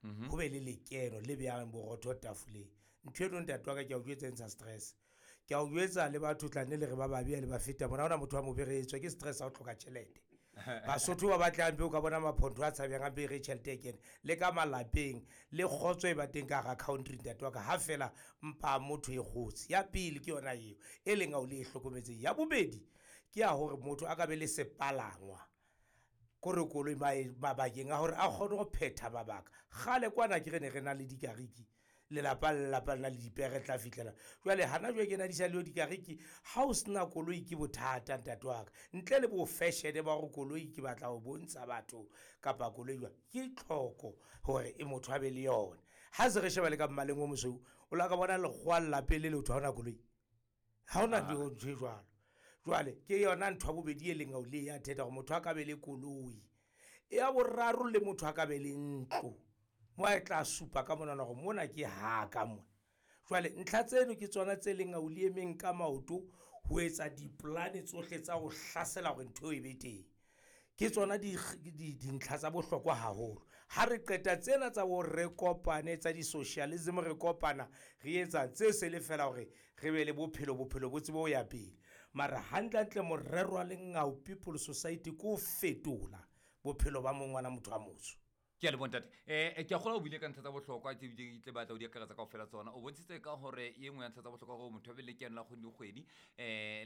Go be le lekeno le beyang borotho tafoleng. Ntho eno, ntate wa ka, ke a o jwetsa, e ntsha stress. Ke a o jwetsa, le batho tla nne le re ba babe le ba feta mona, ha hona motho wa mobe, re etswa ke stress ha o hloka tjhelete. Basotho ba batlang o ka bona maphontho a tshabehang hampe re tjhelete e kene le ka malapeng, le kgotso e ba teng ka hara country, ntate wa ka, ha fela mpa motho e kgotse. Ya pele ke yona eo e leng ao le e hlokometseng. Ya bobedi ke ya hore motho a ka be le sepalangwa, kore koloi, mabakeng a hore a kgone ho phetha mabaka. Kgale kwana ke re ne re na le dikariki, lelapa le lelapa le na le dipere, tla fihlela jwale hana jwale ke na di sa leyo dikariki. Ha o sena koloi ke bothata, ntate wa ka, ntle le bo fashion ba hore koloi ke batla ho bontsha batho kapa koloi jwang, ke tlhoko hore e motho a be le yona. Ha se re sheba le ka mmaleng o mosweu, o la ka bona lekgowa lelapeng le letho, ha hona koloi, ha hona ntho e jwalo. Jwale ke yona ntho ya bobedi e leng ao le ya theta hore motho a ka be le koloi. Ya boraro, le motho a ka be le ntlo mo a tla supa ka monana hore mona ke haka mona. Jwale ntlha tseno ke tsona tse leng ao le emeng ka maoto ho etsa dipolane tsohle tsa ho hlasela hore ntho eo e be teng. Ke tsona dintlha tsa bohlokwa haholo. Ha re qeta tsena tsa bo re kopane tsa di-socialism, re kopana re etsa tse se le fela hore re be le bophelo, bophelo bo tsebe ho ya pele. Mara hantlentle morero wa Lengau People Society ke ho fetola bophelo ba mongwana motho a motsho. Ke a leboha, ntate. Ke a kgolwa o buile ka ntlha tsa bohlokwa tse ke tle batla ho di akaretsa kaofela tsona. O bontshitse ka hore e nngwe ya ntlha tsa bohlokwa gore motho a be le lekeno la kgwedi le kgwedi.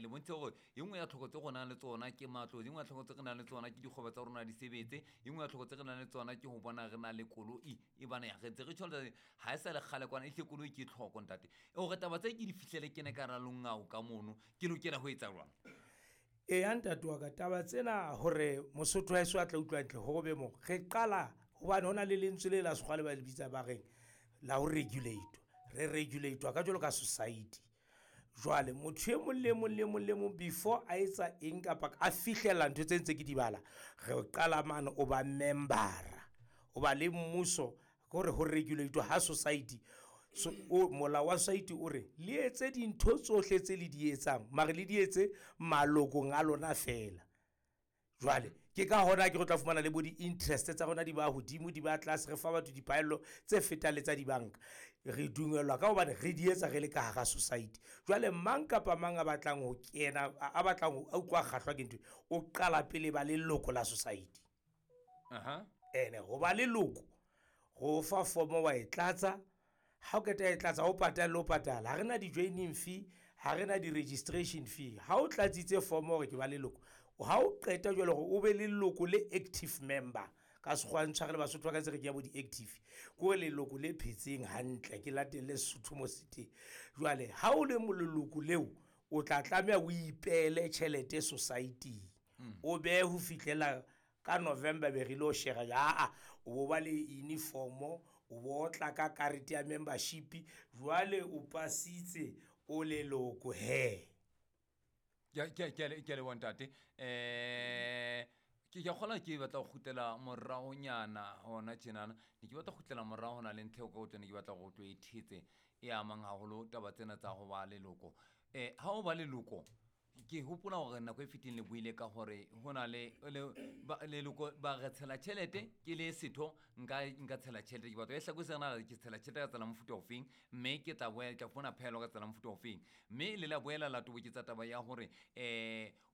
Le bontshitse gore e nngwe ya tlhoko tse go nang le tsona ke matlo, e nngwe ya tlhoko tse re nang le tsona ke dikgwebo tsa rona di sebetse, e nngwe ya tlhoko tse re nang le tsona ke ho bona re na le koloi. E bana ya re ntse re tjho ha e sa le kgale kwana, ehlile koloi ke tlhoko, ntate. Hore taba tse ke di fihlele kene ka hara Lengau ka mono, ke lokela ho etsa jwang? Eya, ntate wa ka, taba tsena hore Mosotho wa heso a tla utlwa hantle hore be mo re qala, hobane ho na le lentswe le la sekgowa le ba le bitsa ba reng la ho regulate. Re regulate ka jwalo ka society. Jwale motho e mong le mong le mong le mong before a etsa eng kapa a fihlella ntho tse ntse ke di bala, re qala mane o ba membera, o ba le mmuso hore ho regulate ha society. So o molao wa society o re le etse dintho tsohle tse le di etsang, mare le di etse malokong a lona fela. Jwale ke ka hona ke re tla fumana le bo di-interest tsa rona di ba hodimo, di ba tlase, re fa batho diphaello tse fetang le tsa dibanka. Re dumellwa ka hobane re di etsa re le ka hara society. Jwale mang kapa mang a batlang ho kena, a batlang ho, a utlwa kgahlwa ke ntho, o qala pele ba leloko la society. Ene ho ba leloko, ho fa form wa e tlatsa. Ha o qeta e tlatsa, o patale, o patala. Ha re na di-joining fee, ha re na di-registration fee. Ha o tlatsitse form hore ke ba leloko, ha o qeta jwale hore o be leloko le active member. Ka sekgowa ntshware le Basotho ba ka tse re ke ya bo di-active. Ke hore leloko le phetseng hantle, ke latelle Sesotho mo se teng. Jwale ha o le leloko leo, o tla tlameha o ipeele tjhelete society-ing. O behe ho fihlela ka November be re lo share ya, aa, o bo ba le uniform, o bo tla ka karete ya membership, jwale o pasitse o leloko he. Ke a leboha, ntate. Ke a kgolwa ke batla ho kgutlela moraonyana hona tjenana. Ne ke batla ho kgutlela morao hona le ntho eo ka o ne ke batla hore o tlo e thetse e amang haholo taba tsena tsa ho ba leloko. Ha o ba leloko, ke hopola hore nako e fetileng le buile ka hore ho na le leloko ba re tshela tjhelete, ke le setho nka tshela tjhelete. Ke batla e hlakise na ke tshela tjhelete ka tsela mofuta ofeng, mme ke tla boela ke tla fumana phaello ka tsela mofuta ofeng. Mme le la boela la toboketsa taba ya hore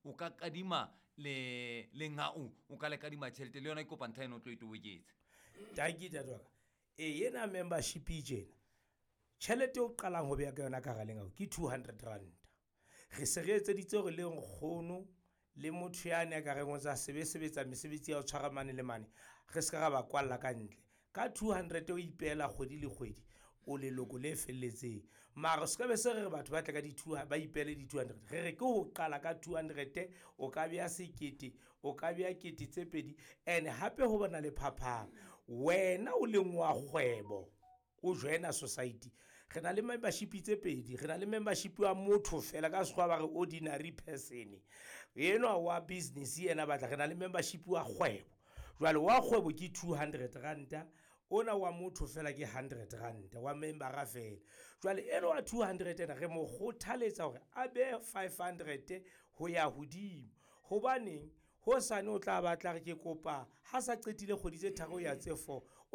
o ka kadima le lengau, o ka le kadima tjhelete le yona. Ke kopa ntlha eno o tlo e toboketse. Tanki, ntate wa ka. E ena membership e tjena, tjhelete o qalang ho beha ka yona ka hara lengau ke 200 rand. Re se re etseditse hore le nkgono le motho yane a ka reng o tsa sebetsa mesebetsi ya ho tshwara mane le mane, re se ka ra ba kwalla ka ntle. Ka 200 o ipeela kgwedi le kgwedi, o leloko le felletseng. Mara se ka be se re re batho ba tle ka di ba ipeele di 200. Re re ke ho qala ka 200, o ka beha sekete, o ka beha kete tse pedi. Ene hape ho bona le phapang, wena o leng wa kgwebo o joina society. Re na le membership tse pedi, re na le membership wa motho fela, ka sekgowa ba re ordinary person, enwa wa business yena batla. Re na le membership wa kgwebo. Jwale wa kgwebo ke 200 ranta, ona wa motho fela ke 100 ranta, wa membera fela. Jwale enwa wa 200 ena re mo kgothaletsa hore a behe 500 ho ya hodimo. Hobaneng hosane o tla batla re ke kopa ha sa qetile kgwedi tse tharo ya tse 4.